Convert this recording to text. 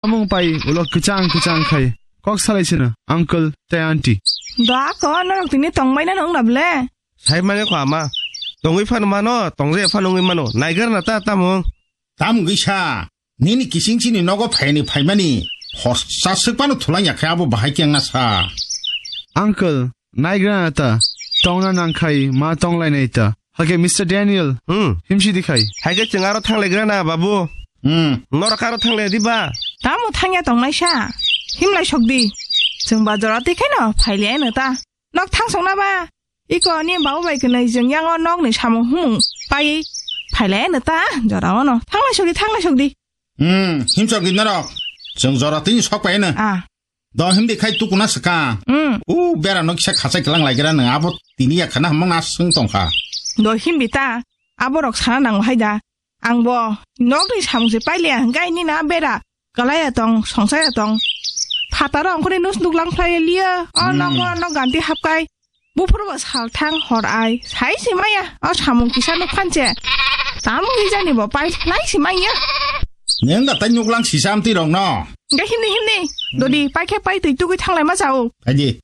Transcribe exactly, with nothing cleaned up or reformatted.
Samung pai ulo kwchang kwchang khai kok salai sino uncle tei aunty. Do ako norok tini tongbaina nong na ble? Sai mane ko ama. Tongwi phano mano, tongje phano wngwi mano. Naigar na ta tamo. Tam gisa. Nini kising chini nogo phaini phaimani. Hossa swk phano thulang ya khe abo bahai khe wngna sa. Uncle, naigra na ta. Tongna nang khai ma tong lai nai ta. Hake Mister Daniel. Hmm. Himsi di khai. Hai khe chwng aro thang lai gra na babu. Hmm. Norok aro thang lai di ba. Tamo thangya tong nai sa. Him lai sok di. Chwng ba jora twi khaino phai le no ta. Nok thang sok na ba. Iko ni babu bai kwnwi jwng yango nok ni samung humung pai phai le no ta. Jora ono. Thang lai sok di, thang lai sok di. Hmm. Him sok di norok. Chwng jora twi sok pai no. Ah. Do himdi khai tukuna swkang. Mm. U bera no kisa khachai kwlang lai gra nang abo tini ya khana hamang na swng tong kha. Do himdi ta aborok sana nango hai da. Ang bo nok ni samung se pailiya hwnkhe nini na bera kalaiya tong songsaiya tong. Phataro ang kore nus nuk lang phlai liya. O Mm. nok o nok ganti hapkai. Buphuru bo sal thang hor ai, sai se maya, o samung kisa nuk phan se. Tamo hi jani bo pai, lai se maya. Neng da tai nuk lang sisa amtwi rok no. Ga himni himni, dodi pai khe pai twi tugui thang lai ma chao. Aji.